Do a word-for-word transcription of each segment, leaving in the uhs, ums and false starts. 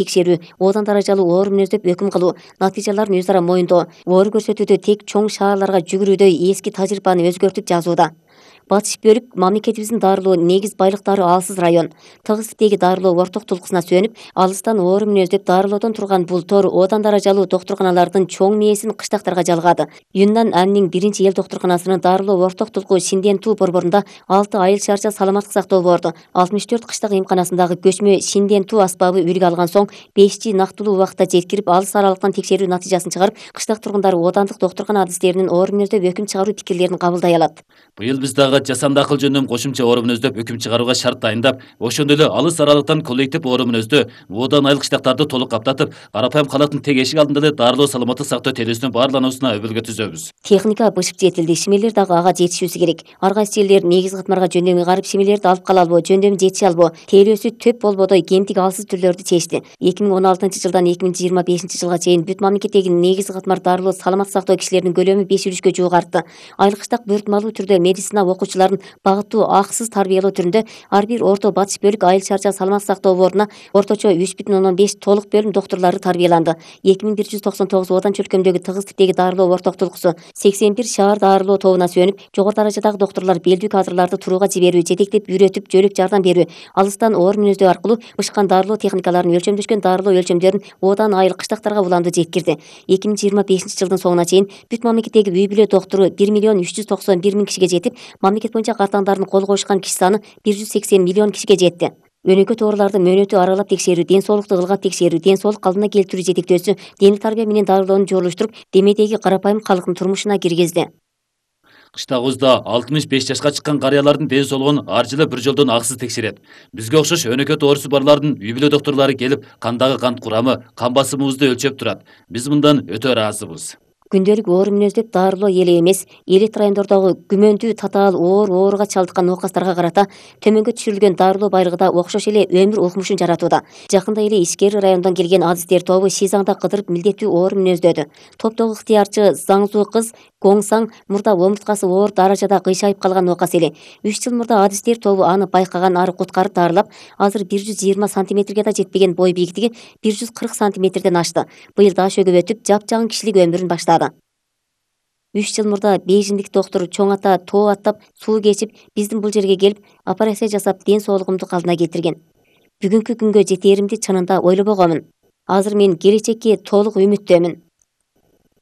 текшерүү, оодан даражалуу оор мүнөздөп өкүм кылуу, натыйжаларын өз ара моюндоо, оор көрсөтүүдө тек чоң шаарларга жүгүрүүдөй эски тажрыйбаны өзгөртүп жазууда. Батыш бөлүк мамлекетибиздин дарылоо негиз байлыктары алсыз район. Тыгыз типтеги дарылоо орток тулкусуна сүйөнүп, алыстан оор мүнөздөп дарылоодон турган бул тор оодан даражалуу доктурканалардын чоң мээсин кыштактарга жалгады. Юннан Аннин биринчи эл доктурканасынын дарылоо орток тулку Шинден-Ту борборунда алты айыл шарча саламаттык сактоо борду. алтымыш төрт кыштак эмканасындагы көчмө Шинден-Ту аспабы үлгү алган соң беш жи нактылуу убакытта жеткирип, алыс аралыктан текшерүү натыйжасын чыгарып, кыштак тургундары оодандык доктуркана адистеринин оор мүнөздөп өкүм чыгаруу пикирлерин кабылдай алат. Быйыл биз дагы жасанды акыл жөнүндө кошумча оор мүнөздөп өкүм чыгарууга шарт дайындап, ошондой эле алыс аралыктан коллектив оор мүнөздө оодан айыл кыштактарды толук каптатып, карапайым калаттын тег эшик алдында эле дарылоо саламаттык сактоо телесүнүн баарлануусуна өбөлгө түзөбүз. Техника бышып жетилди, шимелер дагы ага жетишүүсү керек. Ар кайсы жерлер негиз катмарга жөндөмү карып, шимелерди алып кала албоо, жөндөмү жетише албоо, тейлөөсү төп болбодой кемтик алсыз түрлөрдү чечти. эки миң он алтынчы жылдан эки миң жыйырма бешинчи жылга чейин бүт мамлекеттеги негиз катмар дарылоо саламаттык сактоо кишилеринин көлөмү беш үлүшкө жуук артты. Айыл кыштак бөөртмалуу түрдө медицина окуучуларын багыттуу акысыз тарбиялоо түрүндө ар бир орто батыш бөлүк айыл шарча саламаттык сактоо бордуна орточо үч бүтүн ондон беш толук бөлүм доктурлары тарбияланды. эки миң бир жүз токсон тогуз оодан чөлкөмдөгү тыгыз типтеги дарылоо орток тулкусу, сексен бир шаар дарылоо тобуна сүйөнүп, жогору даражадагы доктурлар белдүү кадрларды турууга жиберүү, жетектеп, үйрөтүп, жөлөп жардам берүү, алыстан оор мүнөздөө аркылуу бышкан дарылоо техникаларын, өлчөмдөшкөн дарылоо өлчөмдөрүн оодан айыл кыштактарга уланды жеткирди. эки миң жыйырма бешинчи жылдын соңуна чейин бүт мамлекеттеги үй бүлө доктуру бир миллион үч жүз токсон бир миң кишиге жетип, мамлекет боюнча картаңдарын кол коюшкан киши саны бир жүз сексен миллион кишиге жетти. Өнөкөт ооруларды мөөнөтү аралап текшерүү, ден соолукту ылгап текшерүү, ден соолук калыбына келтирүү жетектөөсү дене тарбия менен дарылоону жолуштуруп, демедеги карапайым калктын турмушуна киргизди. Кыштагыбызда алтымыш беш жашка чыккан карыялардын ден соолугун ар жылы бир жолдон акысыз текшерет. Бизге окшош өнөкөт оорусу барлардын үй бүлө доктурлары келип, кандагы кант курамы, кан басымыбызды өлчөп турат. Биз мындан өтө ыраазыбыз. Күндөлүк оор мүнөздөп дарылоо эле эмес, элит райондордогу күмөндүү татаал оор ооруга чалдыккан оокастарга карата төмөнгө түшүрүлгөн дарылоо байлыгы да окшош эле өмүр укмушун жаратууда. Жакында эле Ишкери районунан келген адистер тобу Шизаңда кыдырып милдеттүү оор мүнөздөөдү. Топтогу ыктыярчы Заңзуу кыз Гоңсаң мурда омурткасы оор даражада кыйшайып калган оокас эле. үч жыл мурда адистер тобу аны байкаган, ары куткарып дарылап, азыр бир жүз жыйырма сантиметрге да жетпеген бой бийиктиги бир жүз кырк сантиметрден ашты. Быйыл даш өгүп өтүп, жапжаңын кишилик өмүрүн баштады. үч жыл мурда бейжиндик доктур чоң ата тоо аттап, суу кечип, биздин бул жерге келип, операция жасап, ден соолугумду калыбына келтирген. Бүгүнкү күнгө жетээримди чынында ойлобогомун. Азыр мен келечекке толук үмүттөмүн.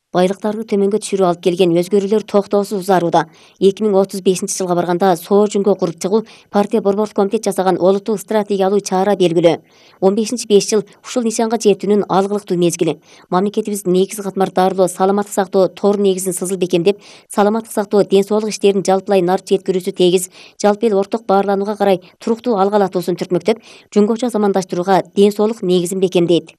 Байлыктарды төмөнгө түшүрүп алып келген өзгөрүүлөр токтоосуз узарууда. эки миң отуз бешинчи жылга барганда соо жүнгө куруп чыгуу партия борбордук комитет жасаган олуттуу стратегиялуу чара белгилөө. он бешинчи беш жыл ушул нишанга жетүүнүн алгылыктуу мезгили. Мамлекетибиз негиз катмар дарылоо саламаттык сактоо тор негизин сызыл бекемдеп, саламаттык сактоо ден соолук иштерин жалпылай нарт жеткирүүсү тегиз, жалпы эл орток баарланууга карай туруктуу алгылатуусун түртмөктөп, жөнгөчө замандаштырууга ден соолук негизин бекемдейт.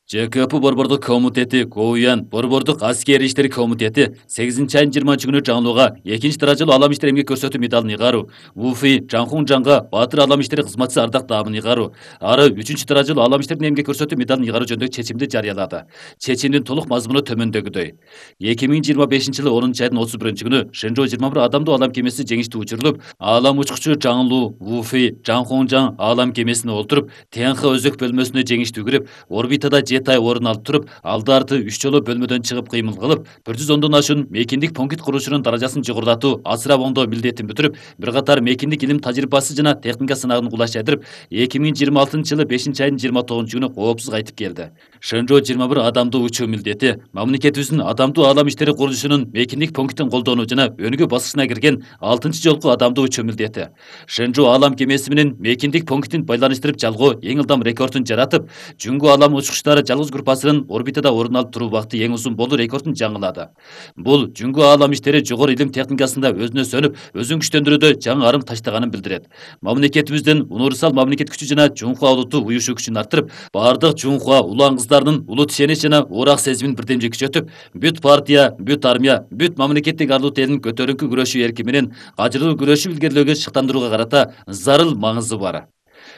Ж К П борбордук комитети, КОУЯН борбордук аскери иштер комитети сегизинчи айдын жыйырманчы күнү жаңылууга экинчи даражалуу алам иштер эмгек көрсөтүү медалын ыйгаруу, УФИ Жаңхун Жаңга баатыр алам иштери кызматчысы ардак даамын ыйгаруу, ары үчүнчү даражалуу алам иштердин эмгек көрсөтүү медалын ыйгаруу жөнүндөгү чечимди жарыялады. Чечимдин толук мазмуну төмөндөгүдөй. эки миң жыйырма бешинчи жылы онунчу айдын отуз биринчи күнү Шэнжоу жыйырма бир адамдуу алам кемеси жеңиштүү учурулуп, алам учкучу Жаңылуу, УФИ Жаңхун Жаң алам кемесине олтуруп, Т Н Х өзөк бөлмөсүнө жеңиштүү кирип, орбитада жети ай орун алып туруп, алды арты үч жолу бөлмөдөн чыгып кыймыл кылып, бир жүз ондон ашуун мейкиндик пункт курушунун даражасын жогорулатуу, асырап оңдоо милдетин бүтүрүп, бир катар мейкиндик илим тажрыйбасы жана техника сынагын кулаш жайдырып, эки миң жыйырма алтынчы жылы бешинчи айдын жыйырма тогузунчу күнү коопсуз кайтып келди. Шэнжоу жыйырма бир адамдуу учуу милдети мамлекетибиздин адамдуу алам иштери курулушунун мейкиндик пунктин колдонуу жана өнүгүү баскычына кирген алтынчы жолку адамдуу учуу милдети. Шэнжоу алам кемеси менен мейкиндик пунктин байланыштырып жалгоо эң ылдам рекордун жаратып, жүнгү алам учкучтары жалгыз группасынын орбитада орун алып туруу убакыты эң узун болуу рекордун жаңылады. Бул жүнгү алам иштери жогору илим техникасында өзүнө сөнүп, өзүн күчтөндүрүүдө жаңы арым таштаганын билдирет. Мамлекетибиздин универсал мамлекет күчү жана Жунхуа улуттуу уюшу күчүн арттырып, бардык Жунхуа улан кыздарынын улут ишенич жана уурак сезимин бирдемже күчөтүп, бүт партия, бүт армия, бүт мамлекеттик арлуу элин көтөрүңкү күрөшүү эрки менен ажырылуу күрөшүп илгерилөөгө шыктандырууга карата зарыл маңызы бар.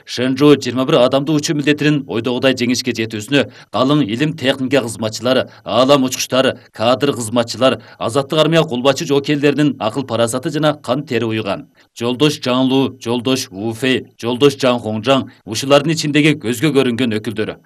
Шэнжу жыйырма бир адамдуу учуу милдетинин ойдогудай жеңишке жетүүсүнө калың илим техника кызматчылары, аалам учкучтары, кадр кызматчылар, азаттык армия кулбачы жоокейлеринин акыл парасаты жана кан тери уйган. Жолдош Жаңлу, Жолдош Ву Фэй, Жолдош Жан Хоңжаң ушулардын ичиндеги көзгө көрүнгөн өкүлдөрү.